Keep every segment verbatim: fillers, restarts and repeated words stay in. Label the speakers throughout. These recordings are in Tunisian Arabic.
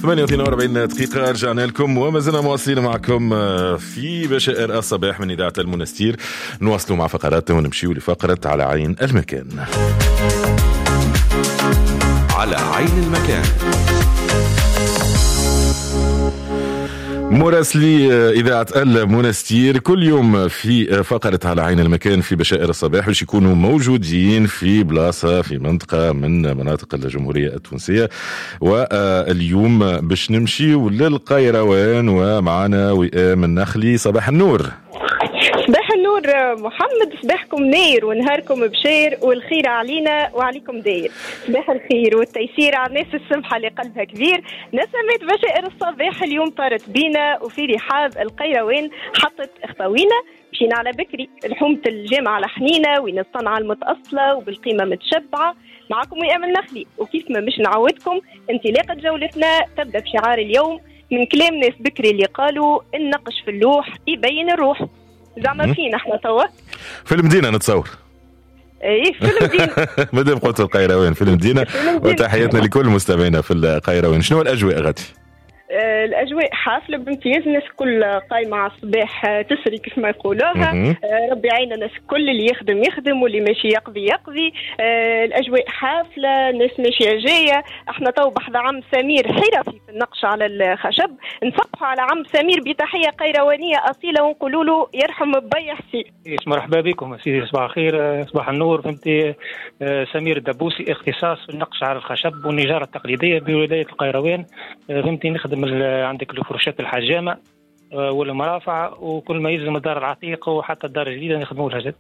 Speaker 1: ثمانية وأربعين دقيقة رجعنا لكم وما زلنا مواصلين معكم في بشائر الصباح من إذاعة المنستير. نواصلوا مع فقراتنا ونمشيو لفقرة على عين المكان.
Speaker 2: على عين المكان.
Speaker 1: مراسلي إذاعة المنستير كل يوم في فقرة على عين المكان في بشائر الصباح باش يكونوا موجودين في بلاصة في منطقة من مناطق الجمهورية التونسية، واليوم باش نمشي للقيروان ومعنا وئام النخلي. صباح النور.
Speaker 3: صباح النور محمد، صباحكم ناير ونهاركم بشير والخير علينا وعليكم داير. صباح الخير والتيسير على الناس السمحة اللي قلبها كبير. نسمات بشائر الصباح اليوم طارت بينا وفي رحاب القيروان حطت اخطاوينا. مشينا على بكري لحومة الجامعة على حنينة وين الصنعة المتأصلة وبالقيمة متشبعة. معكم وئام النخلي، وكيف ما مش نعودكم انطلاقة جولتنا تبدأ بشعار اليوم من كلام ناس بكري اللي قالوا النقش في اللوح يبين الروح. زعما فين احنا توا؟
Speaker 1: في المدينة نتصور.
Speaker 3: ايه في المدينة.
Speaker 1: مادام قلت القيروان في المدينة، وتحياتنا لكل مستمعينا في القيروان. شنو الأجواء غادي؟
Speaker 3: الأجواء حافلة بامتياز، الناس كل قايمة على الصباح تسري كيف ما يقولوها. ربي يعين الناس كل اللي يخدم يخدم واللي ماشي يقضي يقضي. الأجواء حافلة، الناس ماشية جاية. احنا تو بحذا عم سمير حرفي في النقش على الخشب. نصبحوا على عم سمير بتحية قيروانية أصيلة ونقولوا له يرحم بي حسين.
Speaker 4: مرحبا بكم سيدي، صباح الخير، صباح النور. فهمتي، سمير الدبوسي، اختصاص في النقش على الخشب والنجارة التقليدية بولاية القيروان. فهمتي، نخدم عندك الفرشات الحجامة والمرافع وكل ما يلزم الدار العتيقة وحتى الدار الجديدة نخدموا لها.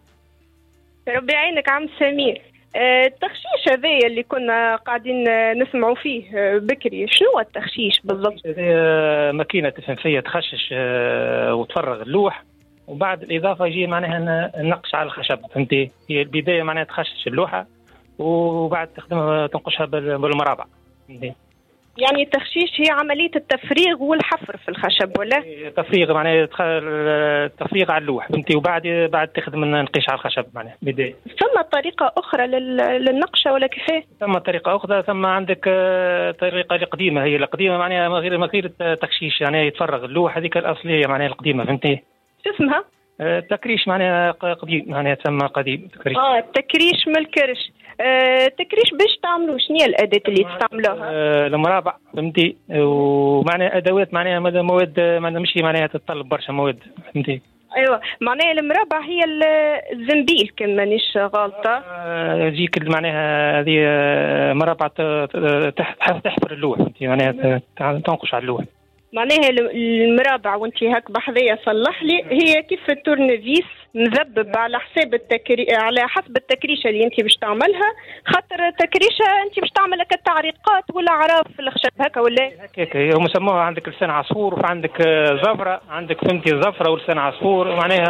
Speaker 3: ربي يعينك عم سمير. التخشيش هذايا اللي كنا قاعدين نسمعوا فيه بكري، شنو التخشيش بالضبط؟
Speaker 4: هذه ماكينة تفنفيه تخشش وتفرغ اللوح، وبعد الاضافة يجي معناها النقش على الخشب. فهمتي، هي البداية معناها تخشش اللوحة وبعد تخدمها تنقشها بالمرابع. فهمتي؟
Speaker 3: يعني التخشيش هي عملية التفريغ والحفر في الخشب ولا؟
Speaker 4: تفريغ معناها التفريغ على اللوح، فهمتي، وبعد بعد تخدم النقيش على الخشب معناها بداية.
Speaker 3: ثم طريقة أخرى للنقشة ولا كيفاه؟
Speaker 4: ثم طريقة أخرى، ثم عندك طريقة القديمة، هي القديمة معناها ما غير ما غير تخشيش، يعني يتفرغ اللوح هذيك الأصلية معناها القديمة. فهمتي؟
Speaker 3: شو اسمها؟
Speaker 4: التكريش معناها قديم، معناها تسمى قديم تكريش.
Speaker 3: اه التكريش من الكرش. آه التكريش باش تعملوا شنو هي الأداة اللي تستعملوها؟
Speaker 4: آه المرابع، فهمتي، ومعناها أدوات معناها مواد معناها مش معناها تتطلب برشا مواد، فهمتي.
Speaker 3: ايوه معناها المرابع هي الزنبيل كان مانيش غالطة.
Speaker 4: تجيك آه معناها هذه مرابع تحفر اللوح، فهمتي، معناها تنقش على اللوح.
Speaker 3: معناها المرابع وانت هاك بحذية صلح لي، هي كيف التورنفيس مذبب على حساب التكري... على حسب التكريشه اللي انت باش تعملها، خاطر التكريشه انت باش تعمل هكا التعريقات والاعراف في الخشب هكا ولا
Speaker 4: هكاك. هم سموها عندك لسان عصفور وعندك زفره، عندك فهمتي زفره ولسان عصفور معناها.